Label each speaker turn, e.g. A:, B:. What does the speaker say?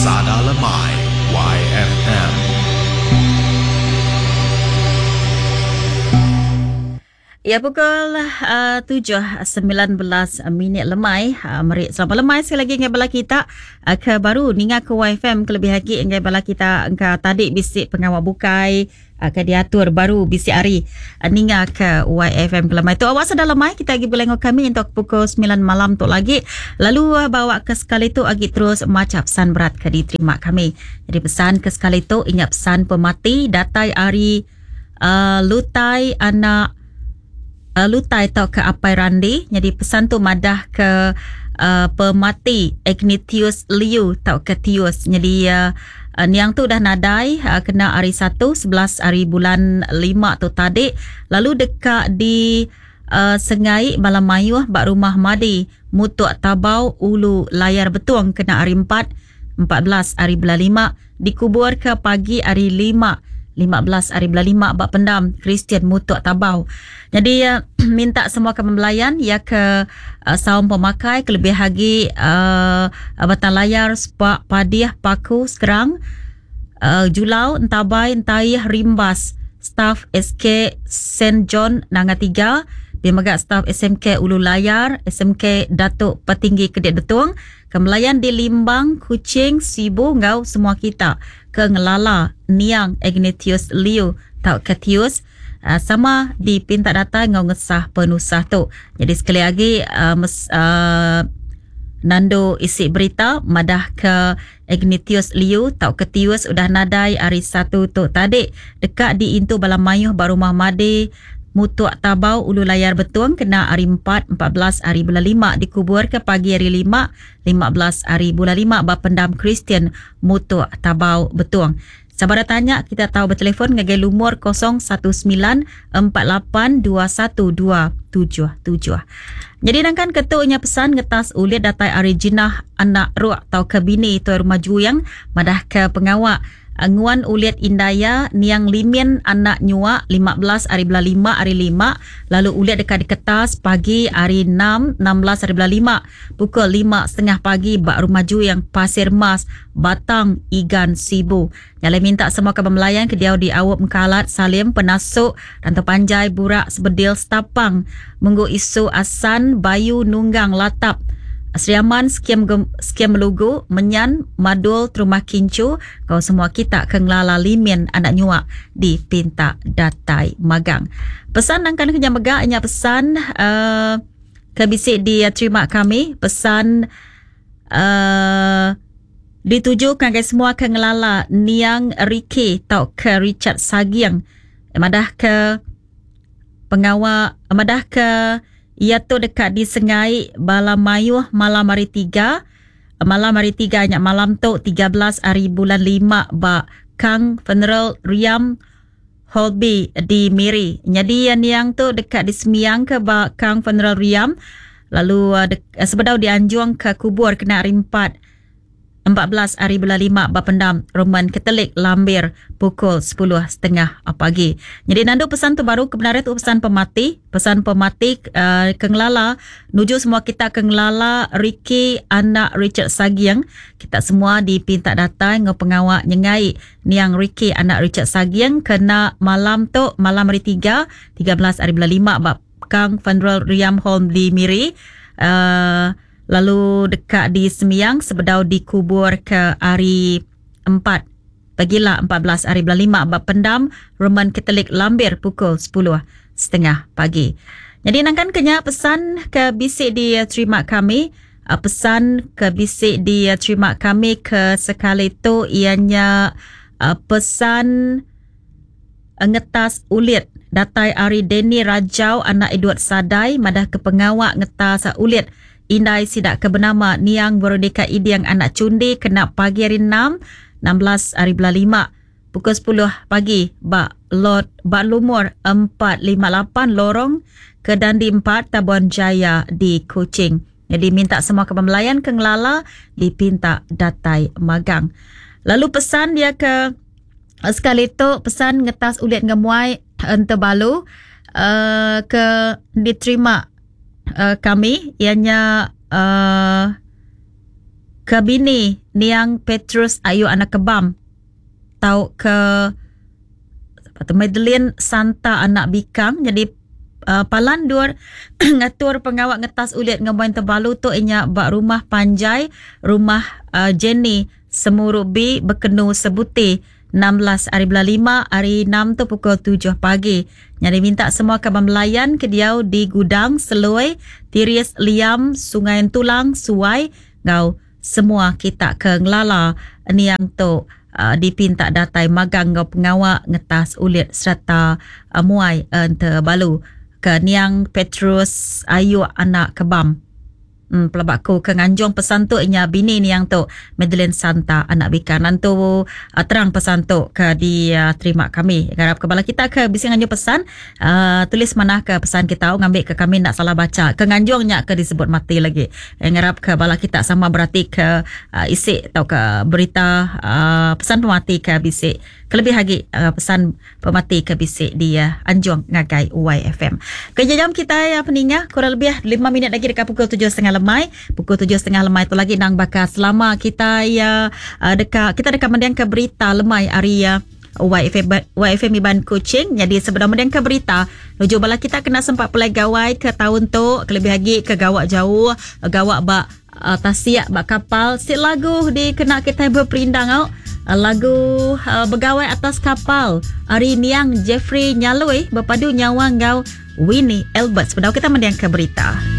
A: Sada Lemai YFM.
B: Ya pukul uh, 7.19 minit lemai uh, meri selamat lemai sekali lagi ngagai bala kita uh, ke baru ninga ke YFM kelebih agi ngagai bala kita engka tadi bisi pengawa bukai uh, ke diatur baru bisi hari uh, ninga ke YFM ke lemai tu. Awak sedar lemai kita agi belengok kami untuk pukul 9 malam tu lagi. Lalu uh, bawa ke sekali tu agi terus maca pesan berat ke diterima kami. Jadi pesan ke sekali tu ingat pesan pemati datai ari uh, Lutai anak uh, Lutai tau ke Apai Randi. Jadi pesan tu madah ke uh, pemati Ignatius Liu tau ke Tius. Jadi uh, niang tu udah nadai uh, kena hari 1 11 hari bulan 5 tu tadi lalu deka di uh, sengai bala mayuh ba rumah Madi Mutuk Tabau Ulu Layar Betung kena hari 4 14 hari bulan 5 dikubur ke pagi hari 5 15 hari bulan 5 ba pendam Kristian Mutuk Tabau. Jadi uh, minta semua ke pembelayan ya ke uh, saum pemakai kelebih lagi uh, batang layar sepak padiah paku sekerang uh, Julau Entabai Entaih Rimbas staf SK St John Nanga 3 dia mega staf SMK Ulu Layar SMK Datuk Petinggi Kedik Betung kemelayan di Limbang Kuching Sibu ngau semua kita ke ngelala Niang Ignatius Liu tau ke Tius uh, sama dipinta data ngau ngesah penusah tu. Jadi sekali lagi uh, mes, uh, Nando isi berita madah ke Ignatius Liu tau ke Tius udah nadai hari satu tu tadi dekat di intu bala mayuh ba rumah Madi Mutuk Tabau Ulu Layar Betung kena hari 4 14 hari bulan 5 dikubur ke pagi hari 5 15 hari bulan 5 ba pendam Kristian Mutuk Tabau Betung. Sabar tanya kita tahu bertelefon ngagai lumur 019 4821 Jadi nangkan ketunya pesan ngetas ulit datai ari jinah anak ruak tau ke bini tuai rumah juyang madah ke pengawak nguan ulit indaya niang limin anak nyuak 15 hari bulan 5 hari 5 lalu ulit dekat di kertas pagi hari 6 16 hari bulan 5 pukul 5.30 pagi bak rumah juyang Pasir Mas Batang Igan Sibu. Nyalai minta semua kabar melayan ke diau di Awap Mengkalat Salim Penasuk Rantau Panjai Burak Sebedil Setapang Menggu Isu Asan Bayu Nunggang Latap Sri Aman Skim Skim Melugu Menyan Madul Terumah Kincu kau semua kita ke ngelala limin anak nyuak di Pinta Datai Magang. Pesan nangkan kenya mega nya pesan uh, ke bisi diterima kami pesan uh, dituju ngagai semua ke ngelala Niang Ricky tau ke Richard Sagiang madah ke pengawa madah ke ia tu dekat di Sengai bala mayuh malam hari 3 malam hari 3 nya malam tu 13 hari bulan 5 ba Kang Funeral Riam Holby di Miri. Jadi yang yang tu dekat di Semiang ke ba Kang Funeral Riam lalu uh, de- sebedau dianjung ke kubur kena hari 4 14 hari bulan 5 Bapendam Roman Katolik Lambir pukul 10.30 pagi. Jadi nandu pesan tu baru kebenaran tu pesan pemati, pesan pemati uh, ke ngelala nuju semua kita ke ngelala Ricky anak Richard Sagiang. Kita semua dipinta datang ngau pengawak nyengai niang Ricky anak Richard Sagiang kena malam tu malam hari 3 13 hari bulan 5 bab Kang Funeral Riam Home di Miri. Uh, lalu dekat di Semiang sebedau dikubur ke hari 4 pagila 14 hari bulan 5 bab pendam Roman Katolik Lambir pukul 10.30 pagi. Jadi nangkan kenya pesan ke bisik diterima kami pesan ke bisik diterima kami ke sekali tu ianya pesan ngetas ulit datai ari Denny Rajau anak Edward Sadai madah ke pengawak ngetas ulit Indai sidak ke bernama Niang Veronica Idiang anak Cundi kena pagi hari 6 16 hari bulan 5 pukul 10 pagi ba lot ba lumur 458 lorong ke Dandi 4 Tabuan Jaya di Kuching. Jadi minta semua kepemelayan ke ngelala dipinta datai magang. Lalu pesan dia ke sekali tu pesan ngetas ulit ngemuai entebalu uh, ke diterima uh, kami ianya uh, ke bini Niang Petrus Ayu Anak Kebam tauka Madeline Santa Anak Bikang nyadi palan endur ngatur pengawa ngetas ulit ngembuan tebalu tu inya ba Rumah Panjai Rumah Jenny Semurubi Bekenu Sebuti 16 ari bulan lima ari enam tu pukul tujuh pagi. Nyadi minta semua kaban belayan ke diau di Gudang, Seloi, Tiris, Liam, Sungai Entulang, Suai enggau semua kita ke ngelala niang tu dipinta datai magang enggau pengawa ngetas ulit sereta muai entebalu ke niang Petrus Ayuk anak Kebam. Em pelaba aku ke nganjung pesan tu inya bini niang tu Madeline Santa anak Bika. Nentu terang pesan tu ke diterima kami. Ngarap ke bala kita ke bisi nganjung pesan tulis manah ke pesan kita ngambi ke kami enda salah bacha. Ke nganjung nya ke disebut mati lagi. Ngarap ke bala kita sama berati ke isi tauka berita pesan pemati ke bisi kelebih agi pesan pemati ke bisi di anjung ngagai YFM. Ke jam kitai peninga kurang lebih lima minit lagi deka pukul tujuh setengah lemai. Pukul tujuh setengah lemai tu lagi nang baka selama kitai deka kita deka mendingka berita lemai ari YFM, YFM Iban Kuching. Jadi sebedau mendingka berita, nuju bala kita kena sempat pulai gawai ke taun tu, kelebih agi ke gawa jauh, gawa ba uh, tasik ba kapal. Si lagu dikena kita berperindang au. Uh, lagu uh, begawai atas kapal ari niang Jeffrey Nyaloi berpadu nyawa enggau Winnie Albert. Sebedau kita mendingka berita.